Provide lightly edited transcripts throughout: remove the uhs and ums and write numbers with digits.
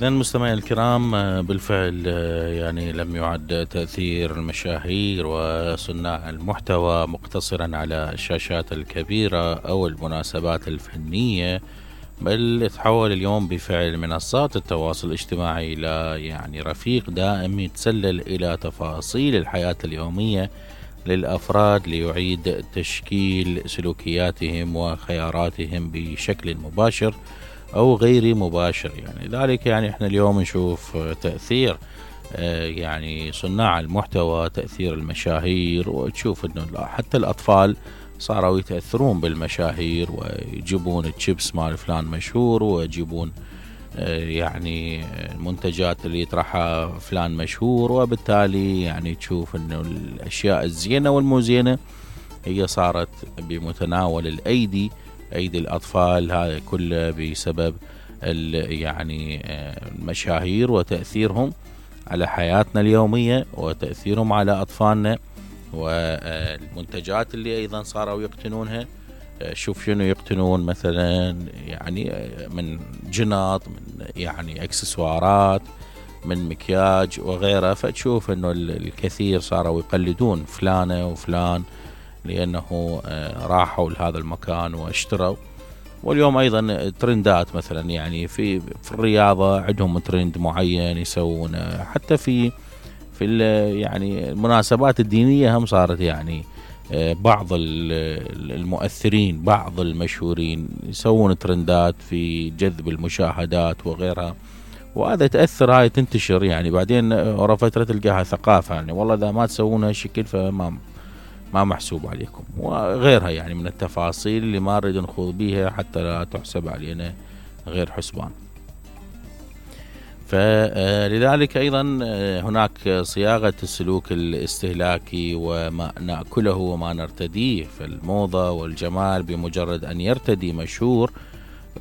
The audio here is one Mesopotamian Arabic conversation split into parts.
إذن مستمعي الكرام، بالفعل يعني لم يعد تأثير المشاهير وصناع المحتوى مقتصرا على الشاشات الكبيرة أو المناسبات الفنية، بل تحول اليوم بفعل منصات التواصل الاجتماعي إلى يعني رفيق دائم يتسلل إلى تفاصيل الحياة اليومية للأفراد ليعيد تشكيل سلوكياتهم وخياراتهم بشكل مباشر أو غير مباشر. يعني ذلك يعني احنا اليوم نشوف تأثير يعني صناع المحتوى، تأثير المشاهير، وتشوف انه حتى الأطفال صاروا يتأثرون بالمشاهير ويجيبون الشيبس مال فلان مشهور، ويجيبون يعني المنتجات اللي يطرحها فلان مشهور، وبالتالي يعني تشوف انه الأشياء الزينة والمو زينة هي صارت بمتناول الأيدي، أيدي الأطفال. هذا كله بسبب يعني المشاهير وتأثيرهم على حياتنا اليومية وتأثيرهم على أطفالنا، والمنتجات اللي أيضا صاروا يقتنونها. شوف شنو يقتنون مثلا، يعني من جنط، من يعني اكسسوارات، من مكياج وغيره. فتشوف انه الكثير صاروا يقلدون فلانة وفلان لأنه راحوا لهذا المكان واشتروا. واليوم أيضا ترندات مثلا، يعني في الرياضة عندهم ترند معين يسوونه، حتى في يعني المناسبات الدينية هم صارت يعني بعض المؤثرين، بعض المشهورين يسوون ترندات في جذب المشاهدات وغيرها، وهذا تأثر، هاي تنتشر. يعني بعدين ورا فترة تلقاها ثقافة، يعني والله إذا ما تسوونها شكل فما محسوب عليكم وغيرها، يعني من التفاصيل اللي ما نريد نخوض بيها حتى لا تحسب علينا غير حسبان. فلذلك أيضا هناك صياغة السلوك الاستهلاكي وما نأكله وما نرتديه. فالموضة والجمال بمجرد أن يرتدي مشهور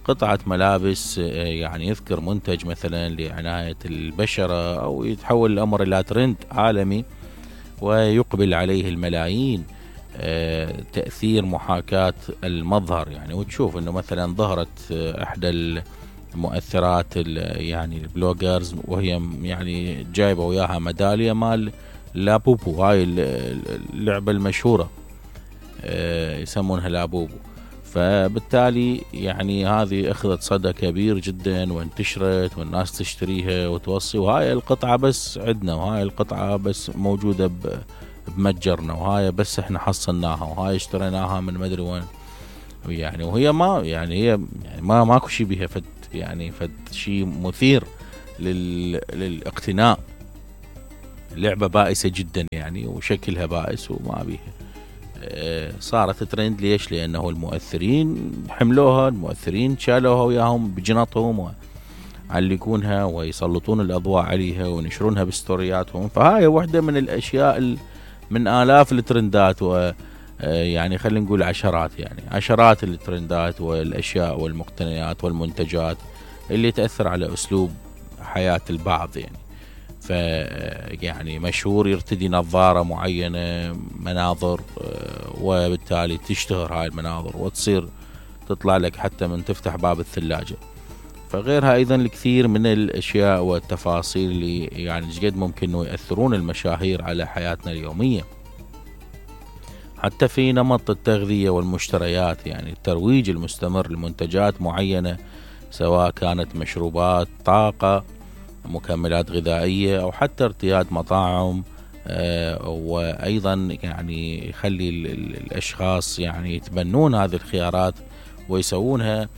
قطعة ملابس، يعني يذكر منتج مثلا لعناية البشرة، أو يتحول الأمر إلى ترند عالمي ويقبل عليه الملايين. تأثير محاكاة المظهر، يعني وتشوف انه مثلا ظهرت احدى المؤثرات يعني البلوجرز وهي يعني جايبه وياها ميدالية مال لابوبو، هاي اللعبة المشهورة يسمونها لابوبو. فبالتالي يعني هذه اخذت صدى كبير جدا وانتشرت والناس تشتريها وتوصي، وهاي القطعة بس عندنا، وهاي القطعة بس موجودة بمتجرنا، وهاي بس احنا حصلناها، وهاي اشتريناها من مدري وين. يعني وهي ما يعني هي يعني ما ماكو شيء بها فد، يعني فد شيء مثير للاقتناء. لعبة بائسة جدا يعني، وشكلها بائس وما بيها. صارت ترند ليش؟ لأنه المؤثرين حملوها، المؤثرين شالوها وياهم بجنطهم وعلقونها ويسلطون الأضواء عليها وينشرونها بستورياتهم. فهاي واحدة من الأشياء من آلاف الترندات، ويعني خلينا نقول عشرات، يعني عشرات الترندات والأشياء والمقتنيات والمنتجات اللي تأثر على أسلوب حياة البعض. يعني يعني مشهور يرتدي نظارة معينة، مناظر، وبالتالي تشتهر هاي المناظر وتصير تطلع لك حتى من تفتح باب الثلاجة. فغيرها أيضا الكثير من الأشياء والتفاصيل اللي يعني جد ممكن أنه يأثرون المشاهير على حياتنا اليومية. حتى في نمط التغذية والمشتريات، يعني الترويج المستمر لمنتجات معينة، سواء كانت مشروبات، طاقة، مكملات غذائية، أو حتى ارتياد مطاعم. وأيضا يعني يخلي الأشخاص يعني يتبنون هذه الخيارات ويسوونها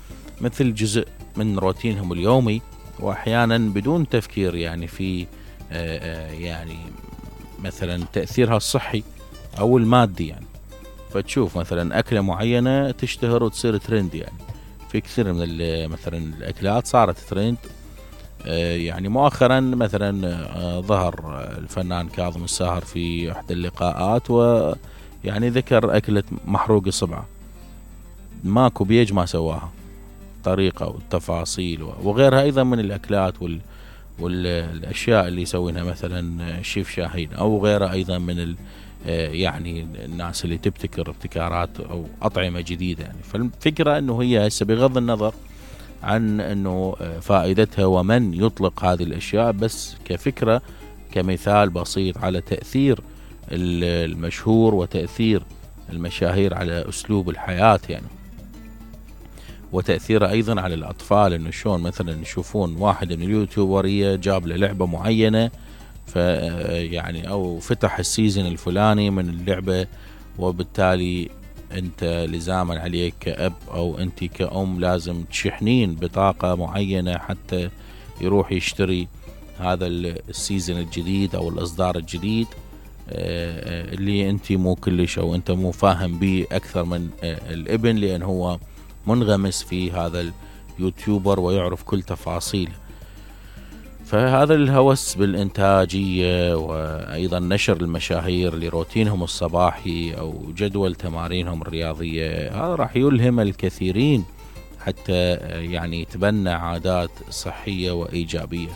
مثل جزء من روتينهم اليومي، وأحيانا بدون تفكير يعني في يعني مثلا تأثيرها الصحي أو المادي. يعني فتشوف مثلا أكلة معينة تشتهر وتصير ترند، يعني في كثير من مثلا الأكلات صارت ترند. يعني مؤخرا مثلا ظهر الفنان كاظم الساهر في احدى اللقاءات ويعني ذكر أكلة محروق الصبعة، ماكو بيج ما سواها، طريقة والتفاصيل وغيرها أيضا من الأكلات والأشياء اللي يسوينها مثلا شيف شاهين أو غيره أيضا من يعني الناس اللي تبتكر ابتكارات أو أطعمة جديدة. يعني فالفكرة أنه هي هسه بغض النظر عن انه فائدتها ومن يطلق هذه الاشياء، بس كفكرة كمثال بسيط على تأثير المشهور وتأثير المشاهير على اسلوب الحياة يعني، وتأثيره ايضا على الاطفال، انه شلون مثلا يشوفون واحد من اليوتيوبرية جاب له لعبة معينة يعني او فتح السيزن الفلاني من اللعبة، وبالتالي انت لزاما عليك كأب او انت كأم لازم تشحنين بطاقة معينة حتى يروح يشتري هذا السيزن الجديد او الاصدار الجديد اللي انت مو كلش او انت مو فاهم به اكثر من الابن، لان هو منغمس في هذا اليوتيوبر ويعرف كل تفاصيله. فهذا الهوس بالإنتاجية وأيضا نشر المشاهير لروتينهم الصباحي أو جدول تمارينهم الرياضية، هذا راح يلهم الكثيرين حتى يعني يتبنى عادات صحية وإيجابية.